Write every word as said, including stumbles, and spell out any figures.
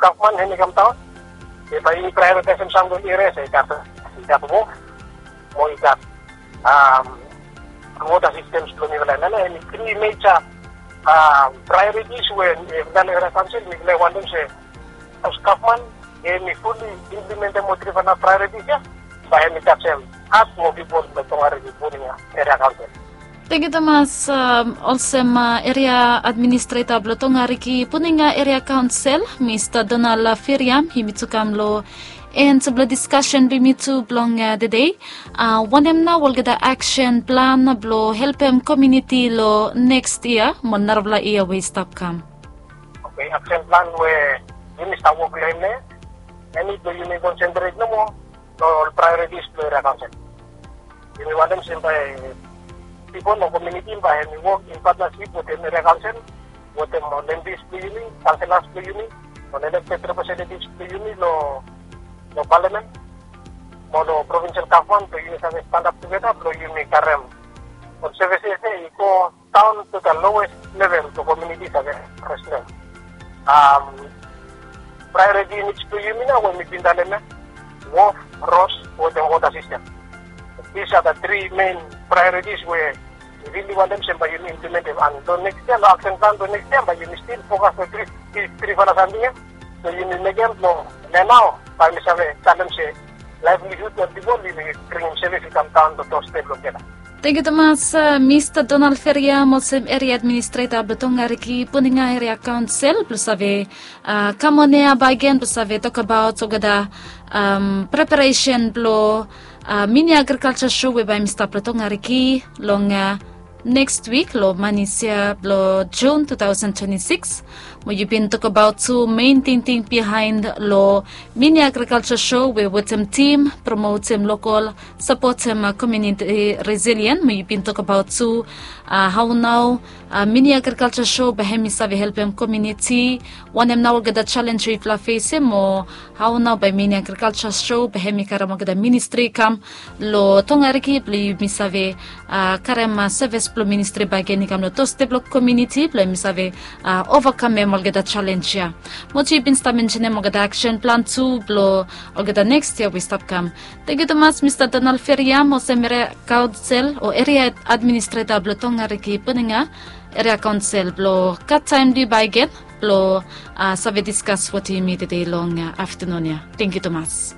Gavman hemi kam daon, be bae yumi praeoritaisim sam long eria se i gat, i gat wok mo i gat wota sistem blong mifala. Nana hemi tri meja praeoritis we mifala eria kaonsel mifala wantem se haos gavman hemi fuli implementem ol trifala praeoritis ya, bae hemi tajem hat mo pipol blong Tongariki Puninga Eria Kaonsel. Tangkiu tumas. Olsem eria administreta blong Tongariki Puninga Eria Kaonsel, Mista Donald Feriam, yumi tu kam long en blong diskasen blong yumi tu blong tede. Wanem nao olgeta aksen plan blong helpem komuniti long neks yia mo narafala yia we i stap kam? Oke, aksen plan we yumi stap wok long hem nao, hemi blong yumi konsentret nomo long ol praeoritis blong eria kaonsel. Yumi wantem se bae pipol mo komuniti bae hemi wok in patnasip wetem eria kaonsel, wetem ol empi blong yumi, kanselas blong yumi, ol elekted representativs blong yumi long palamen mo long provinsel gavman blong yumi save stanap tugeta blong yumi karem ol sevises ya i go daon tu the lowest level blong komuniti save akses long hem. Praeoriti nits blong yumi nao we mi bin talem ya, wof, ros wetem wota sistem. These are the three main priorities we mi rili wantem se bae yumi implementem, and long neks yia long aksen plan blong neks yia bae yumi stil fokas long tri, tri, trifala samting ya. So yumi mekem blong nao bae mi save talem se laevlihud blong pipol yumi bringim sevis i kam daon long dostep blong olgeta. Tangkiu tumas, Mista Donald Feriam, olsem eria administreta blong Tongariki Puninga Eria Kaonsel blong save kam on ya bakegen blong save tokbaot olgeta preparesen blong mini agrikalsa so we bae hemi stap long Tongariki long neks wik long manis ya blong Jun tu taosen twenti sikis. Mo yu bin tokbaot tu mein tingting bihaen long mini agrikalsa so we wetem tim, promotem lokol, sapotem komuniti resilien. Mo yu bin tokbaot tu hao nao mini agrikalsa so bae hemi save helpem komuniti, wanem nao olgeta jalenj we yufala fesem, mo hao nao bae mini agrikalsa so bae hemi karem olgeta ministri i kam long Tongariki blong yumi save karem sevis blong ministri bakegen i kam long dostep blong komuniti blong yumi save ovakamem olgeta jalenj ya. Mo yu bin stap mensenem olgeta aksen plan tu blong olgeta neks yia we i stap kam. Tangkiu tumas Mista Donald Feriam, olsem eria kaonsel o eria administreta blong Tongariki Puninga Eria Kaonsel, blong gat taem blong yu bakegen blong save diskas wetem yumi tede long aftanun ya. Tangkiu tumas.